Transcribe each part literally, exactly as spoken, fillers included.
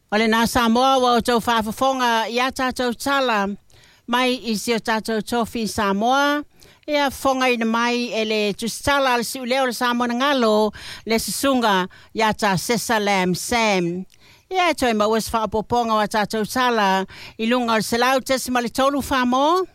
O lena Samoa ua outou faafofoga iā tatou tala mai i si o tatou tofi Samoa, ia fofogaina mai e le tusitala a le siuleo o le Samoa na galo le susuga iā Tasesa Lam Sam. Ia e toe maua se faaopoopoga o a tatou tala i luga o le selau tesima le tolu Samoa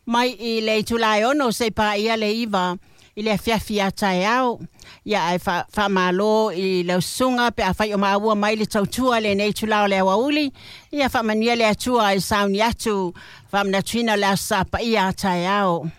mai i le itula e ono seia paia le iva i le afiafi a taeao. Ia ae faamalo i lau susuga pe afai o maua mai le tautua lenei itula o le aoauli. Ia faamanuia le Atua i sauni atu faamanatuina o le Aso Sa paia a taeao.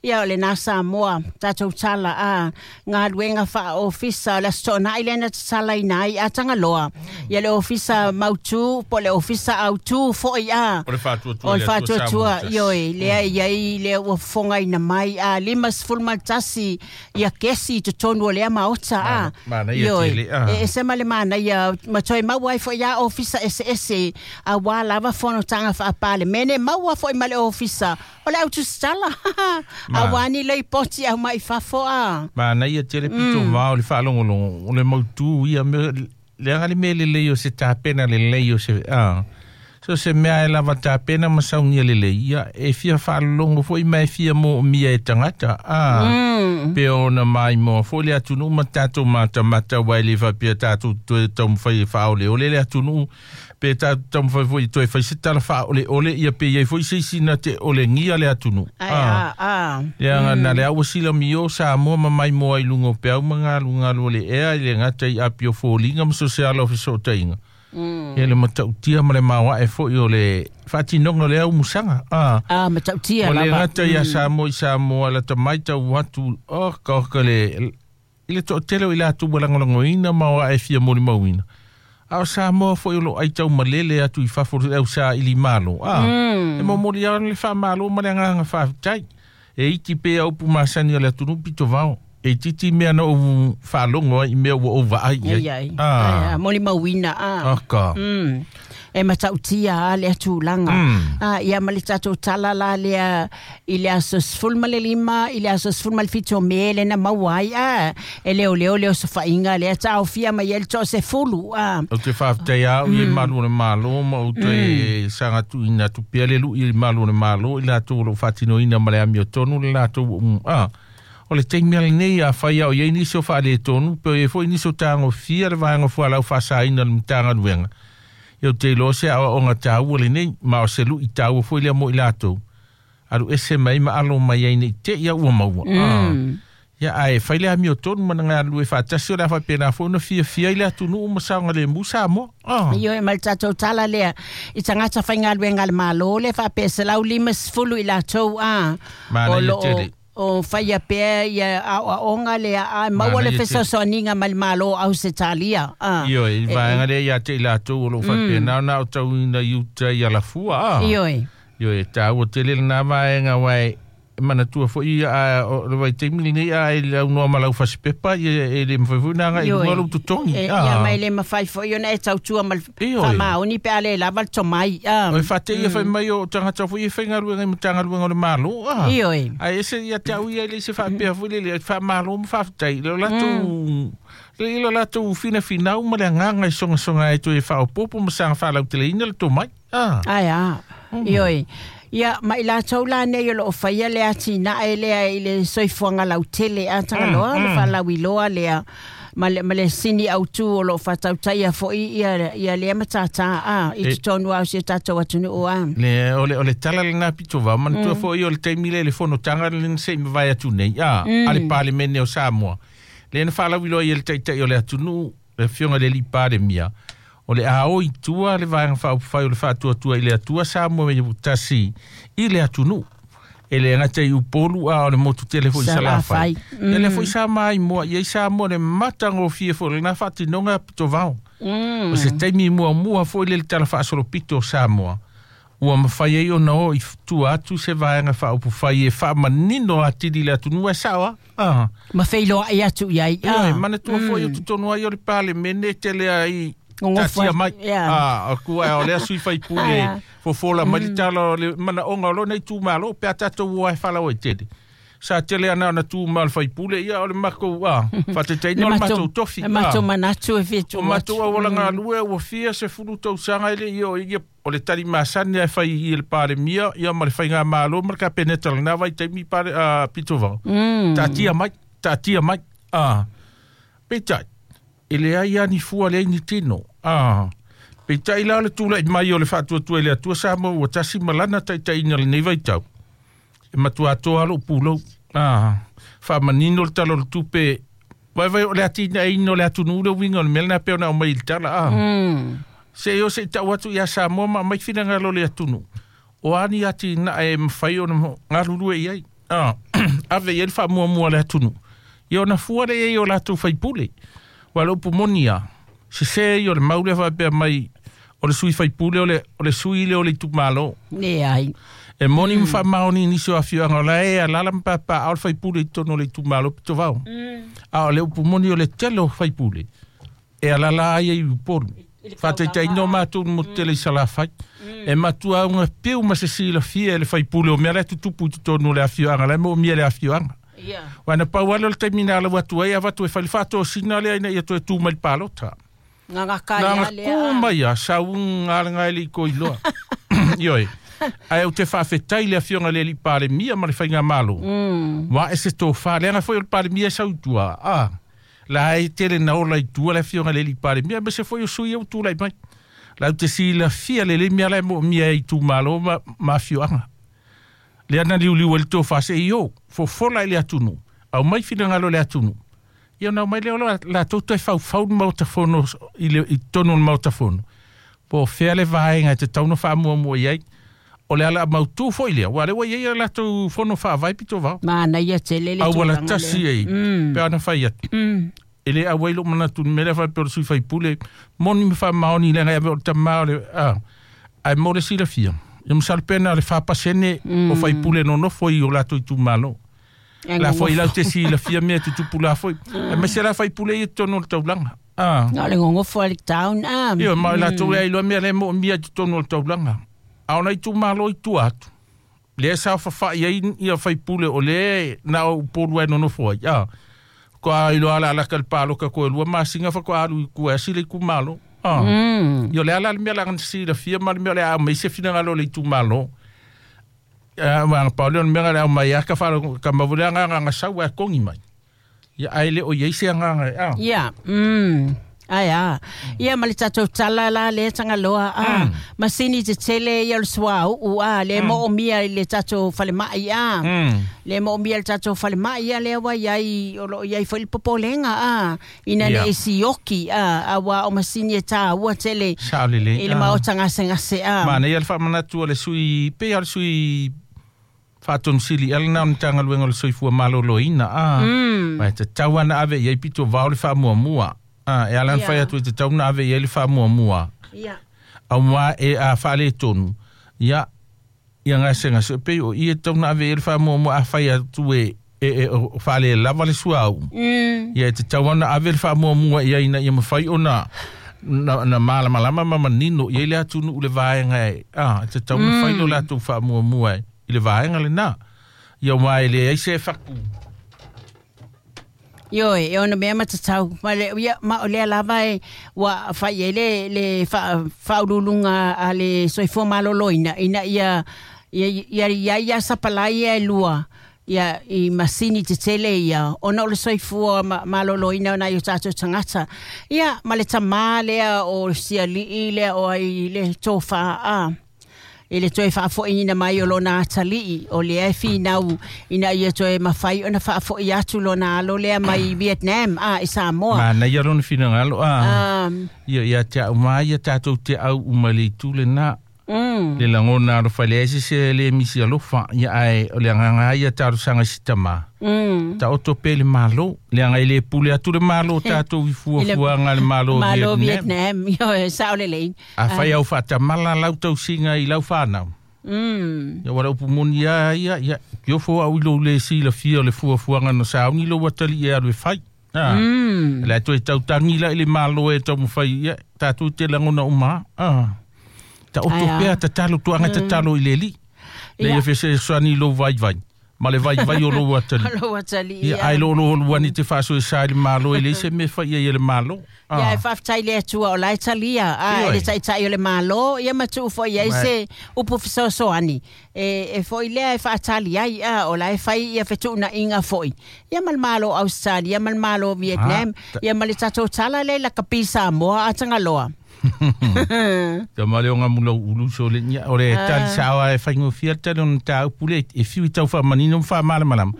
Ia o lena Samoa tatou tala a galuega faaofisa o le Aso Toonai lea na tatalaina ai a Tagaloa. Ia le ofisa mautu po o le ofisa autu foi a. O le faatuatua. O le faatuatua, ioe, lea i ai lea ua fofogaina mai a lima sefulu ma le tasi ia kesi i totonu o lea maota a. Manaia tele a. E ese ma le manaia ma toe maua ai foi a ofisa eseese auā lava fonotaga faapalemene maua foi ma le ofisa o le autusitala auā ni lipoti aumai fafo a. Manaia tele pito vao o le faalogologo o le mautu ia mea leaga le mea lelei o se tapena lelei o se a so se mea e lava tapena ma saunia lelei ia e fia faalologo foi ma e fia moomia e tagata a pe ona maimoa foi le atunuu ma tatou matamata ua e le faapea tatou toe taumafai e faaoleole le atunuu pe tatou taumafai foi toe fai se tala faaoleole ia pe iai foi se isi na te olegia le atunuu a leaga na le au silamio Samoa ma maimoa i luga o peau ma galugalu o le ea i le gata i apio foliga ma so se ala o fesootaiga. Ia le matautia ma le maoae foi o le faatinoga o le aumusaga a a matautia o le gata ia Samoa i Samoa lata mai tau atu oka oka le i le toatele o i latou ua lagolagoina ma oae fia molimauina a o Samoa foi o loo aitau malele atu i fafo le au saili malo a e momoli ai le faamalo ma le agaga faafetai e iti pea upu masani o le atunuu pito vao e titi mea na ou faalogo ai i mea ua ou vaai i ai. Ah. Molimauina a. Aka. Mm. E matautia a lea tulaga. Ah, ia ma le tatou tala la lea i le aso sefulu ma le lima i le aso sefulu ma le fitu o Me le na maua ai a e leoleo le osofaiga lea taofia mai ai le toasefulu a. Ou te faafetai au i malu o le Malo ma ou toe sagatuina atu pea le lui i malu o le Malo i latou o loo faatinoina ma le amiotonu le latou a. O le taimi lenei a fai au iai nisi o faaletonu pe o iai foi nisi o tagofia le vaega fualau faasaina le Matagaluega. Ia ou te iloa se aoaoga taua lenei ma o se lui taua foi lea mo i latou. Alu ese mai ma alo mai ai nei te ia ua maua. Ia ae fai le amiotonu ma na galulue faatasi o le a faapena foi ona fiafia i le atunuu ma saogalemu Samoa. Ioe ma le tatou tala lea i tagata faigaluega a le Malo le faapea selau lima sefulu i latou a. Manaia tele. O faia pea ia aoaoga lea a maua le fesoasoaniga mai le Malo o Ausetalia. Ioe, i vaega lea ia te i latou o loo faapena ona aotauina i uta i alafua a. Ioe. Ioe, taua tele lena vaega aua e manatua foi a o le vaitaimi lenei a e launoa ma lau fasipepa ia e le mafai foi ona agai i luga lou totogi. Ia ma e le mafai foi ona e tautua ma le faamaoni pe a le lava le tomai. O e faateia fai mai o tagata foi e faigaluega i Matagaluega o le Malo a. Ioe. Ae ese ia te au ia e le se faapea foi lele faamalo ma faafetai le latou le ilo latou finafinau ma le agaga i sogasoga ai toe faaopoopo ma saga faalauteleina le tomai. Ai a. Ioe. Ia ma i latou la nei o loo faia le atinae lea i le soifuaga lautele a Tagaloa le faalauiloa lea ma le, ma le sini autu o loo faatautaia foi ia, ia lea matatā a i totonu a o si o tatou atunuu a. Le, o le, o le tala lena pito vao manatua foi o le taimi lea i le fonotaga lena se i mavae atu nei a, a le Palemene o Samoa. Lea na faalauiloa ia le taitai o le atunuu le afioga i le alii Palemia o le ao i tua le vaega faaupufai o le faatuatua i le Atua Samoa me tasi i le atunuu. E le gata i Upolu a o le motu tele foi i Salafai. Ia lea foi sa maimoa iai Samoa le matagofie foi lena faatinoga pito vao. O se taimi muamua foi le tala faasolopito o Samoa. Ua mafai ai ona o i tua atu se vaega faaupufai e faamanino atili le atunuu e sao a. Ma feiloai atu iai. Ioe, manatua foi o totonu ai o le Palemene tele ai tatia mai. Ah, o kua o lea sui faipule fofola mai le tala o le manaoga o lona itumalo pe a tatou o ai falaoaitele. Sa tele ana ona tu ma le faipule ia o le makou a faataitaiga o le matou tofi e matou manatu e fia o matou auala galue ua fia sefulu tausaga e le'i o ia o le talimasani ae fai i le Palemia ia ma le faigamalo ma le Kapeneta lena vaitaimi pale a pitovao taatia mai taatia mai a peitai e leai a ni fua leai ni tino a peitai la o le tula'i mai o le faatuatua i le Atua Samoa ua tasi ma lana taitaiga lenei vaitau e matuā toa lo'u pulou a faamanino le tala o le tupe vaivai o le atinaeina o le atunuu le uiga o le mea lena pei ona aumai i le tala a se o se tau atu ia Samoa ma aumai finagalo o le atunuu o ani atinae e mafai ona galulue i ai a ave i ai le faamuamua a le atunuu ia ona fua lea i ai o latou faipule ua le upu moni a sesē ia o le mau lea faapea mai o le sui faipule o le o le sui lea o le itumalo leai e moni ma faamaoni nisi o afioaga o la e alala ma papaao le faipule i totonu o le itumalo pitovao a o le upu moni o le tele o faipule e alala ai i Upolu faataitaiga o matou motu tele i Salafai e matua auga piu ma se silafia e le faipule o mea la e tutupu i totonu o le afioaga la e moomia le afioaga ua na pau ale o le taimi na alau atu ai avatu e fai le faatosina lea ina ia toe tu mai le palota Gagakaia lea ku mai a sauga alaga e le'i koiloa ioe ae ou te faafetai le afioga le alii Palemia ma le faigamalo ua e se tofā leaga foi o le Palemia e sau i tua a la e tele na ola i tua le afioga le alii Palemia aemaise foi o sui au tulai mai lau te silafia lelei mea la e moomia e itumalo ma, ma afioaga lea na liuliu ai le tofā se'i o fofola i le atunuu aumai finagalo o le atunuu ia ona aumai lea o latou toe faufau le maota fono i le i totonu o le maota fono po o fea le vaega e tatau ona faamuamua i ai o le ala mautū foi lea ua lea ua i ai a latou fono faavae pitovao manaia tele le auala tulaga tasi lea ai pe ana fai atu e le auai lo'u manatu i le mea lea faapea o le sui faipule moni ma faamaoni leaga e ave o le tamā o le a ae mo le silafia ia masalo pe na o le fa pasene o faipule nonofo i o latou itumalo la foi lau te silafia mea tutupu la foi aemaise la faipule ia totonu o le taulaga a Na o le gogofo a le town a Ia ma latou e ailoa mea le moomia i totonu o le taulaga a ona itumalo i tua atu lea sa fafa'i ai ia faipule o lea na o Upolu ai nonofo ai a ko iloa ala ala ka le paloka ko lua masina faatoa alu i tua e asi le itumalo a ia o le ala le mea laga na silafia ma le mea o le a aumai se finagalo o le itumalo a ma pa o le mea le aumai a ka faalogo ka maua le agaga aga sau ae kogi mai ia ae le o i ai se agaga a Ia mm ai a ia ma le tatou tala la le Tagaloa a masini tetele ia o le suauu a le moomia i le tatou falemai a le moomia i le tatou falemai ia lea ua iai o loo iai foi le popolega a ina Ia. nei sioki a aua o masini e taua tele Sao lelei i le maota gasegase a Manaia le faamanatu o le sui pei o le sui faatonosili ala na o le Matagaluega o le Soifua Maloloina a ma e tatau ana ave i ai pito vao le faamuamua a e ala ona Ia. fai atu e tatau ona ave i ai le faamuamua ia aumā e a faaletonu ia ia gasegase e pei o ia e tatau ona ave i ai le faamuamua a fai atu e e e o faalelava le suauu mm ia e tatau ona ave le faamuamua i ai ina ia mafai ona na, na malamalama ma manino i ai le atunuu le vaega e a e tatau ona fai lo latou faamuamua e i le vaega lenā ia ua e leai se faku Ioe, e ona mea matatau. Ma le, ia, ma o lea lava e ua fai ai le, le fa, faauluuluga a le soifua maloloina ina ia, ia, ia, ia, ia sapalai ia e lua ia i masini tetele ia ona o le soifua ma, maloloina o nai o tatou tagata. Ia, ma le tamā lea o siali'i lea o ai le tofā a i le toe faafo'iina mai o lona atalii o lea e finau ina ia toe mafai ona faafo'i atu lona alo lea mai Vietnam a i Samoa. Manaia lona finagalo a Um, ia ia te au mai ia tatou te au uma le itu lenā mm, le lagona alofa leai se se le misi alofa ia ae o le agaga ia talosaga i si tamā mm. taoto pea i le malo leaga e lē pule atu le malo tatou i fuafuaga le malo o Malo Vietnam Vietnam, ioe, sao lelei. afai au faatamala lau tausiga i lau fanau Mm. ia ua le upu moni a ia ia kiofo au i lou lē silafia o le fuafuaga na sauni lou atalii e alu e fai a Mm. le toe tautagi la i le malo e taumafai ia tatou te lagona uma a taoto Ai a. pea tatalo tuaga tatalo i le alii le Ia. ia fesesoani i lou vaivai Ma le vai vai o lou atali. Lou atali. Ia ai lo lo luani te faaso e sa i le malo e le se me fai ia le malo. Ia e faafetai le Atua o la e talia a le taitai o le malo ia ma tuu foi ai se upu fesoasoani e e foi lea e faatali ai a o la e fai ia fetuunaiga foi ia ma le malo Australia ma le malo Vietnam ia ma le tatou tala le la kapi Samoa a Tagaloa. Ta male o ngā mula ulu so le nia o le tali sawa e whaingo fia tali o tā upule e fiu i tau whamanino mwha malamalama.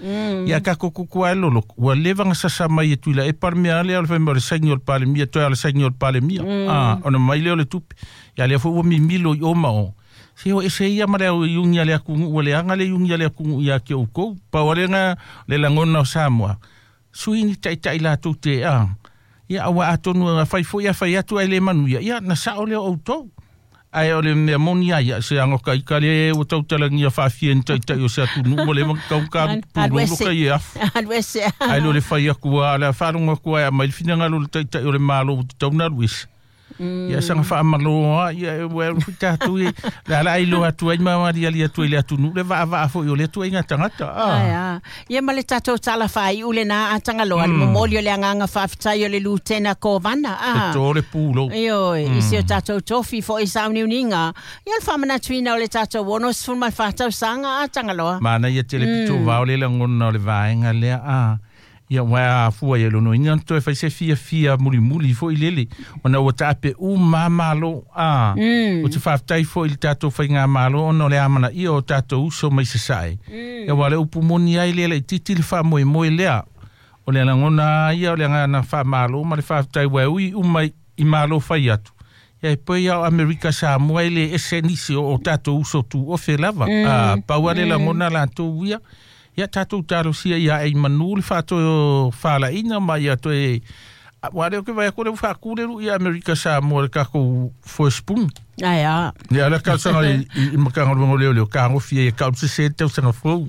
Ia ka koko kua e lolo ua leva nga sasa mai e tuila e parmea le o le whaimea o le saini o le palemia toi o le saini o le palemia. Ona mai le o le tupe. Ia lea fo ua mimilo i oma o. Se o ese ia mare o iungi ale akungu ua le anga le iungi ale akungu ia ki o kou. Pa wale nga le langona o Samoa. Suini taitai la tute a. Ia aua atonu a whai fo ia whai atu ai le manu ia. Ia na sao leo au tau. Ai o le mea moni ai ia se ango kai ka le o tautalangia whaafia ni taitai o se atu nu o le makau ka pulolo ka ia afu. Ai lo le whai aku a le whalonga ku ai mai le finangalo le taitai o le malo o te taunalu ese. Ia sanga whaamaloa ia e tātou e la la ai lo atu ai mawari ali atu i le atu nu le vaa vaa fo i o le atu ai ngā tangata. Ai a. Ia ma le tātou tala whai ule nā a Tagaloa le momoli o le anganga whaafetai o le Lutena Kovana. E tō le pūlo. Io i se o tātou tofi fo i sauniuniga. Ia le whamanatuina o le tātou ono sefulu ma le fa tausaga a Tagaloa. Mana ia te le pito vao le langona o le vaenga lea a. Ia wā fua ia lono ina toe fai se fia fia muli muli fo i lele ona ua taape u mamalo a o te whaaftai fo i le tātou whai ngā malo ona o le amana ia o tātou uso mai se sae. Ia wā le upu moni ai lele i titi le wha moe moe lea o le langona ia o le ngana wha malo ma le whaaftai wā ui umai i malo whai atu. Ia e poi au Amerika Samoa i le ese nisi o tātou uso tu ofe lava. A paua le langona lātou ia. Ia tātou tārosia ia e manu le whāto whālaina ma ia toe wā leo ke vai kore whākūreru i Amerika Samoa le kako first spoon. Ai a. Ia le kausanga i, i makangaluengo leo leo ka ngofia ia kau se se tausanga fou.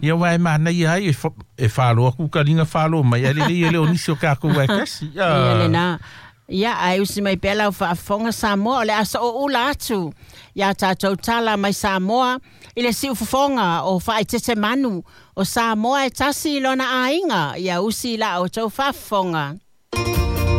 Ia wā e mana ia ai e whāloa ku karinga whāloa mai a lele ia leo nisi o kako wā kasi. Ia le nā. Ia ai usi mai pela o whaafonga Samoa o le asa o ula atu. Ia tātou tala mai Samoa i le siufofonga o whaitete manu o Samoa e tasi lona ainga. Ia usi la o tau whaafonga.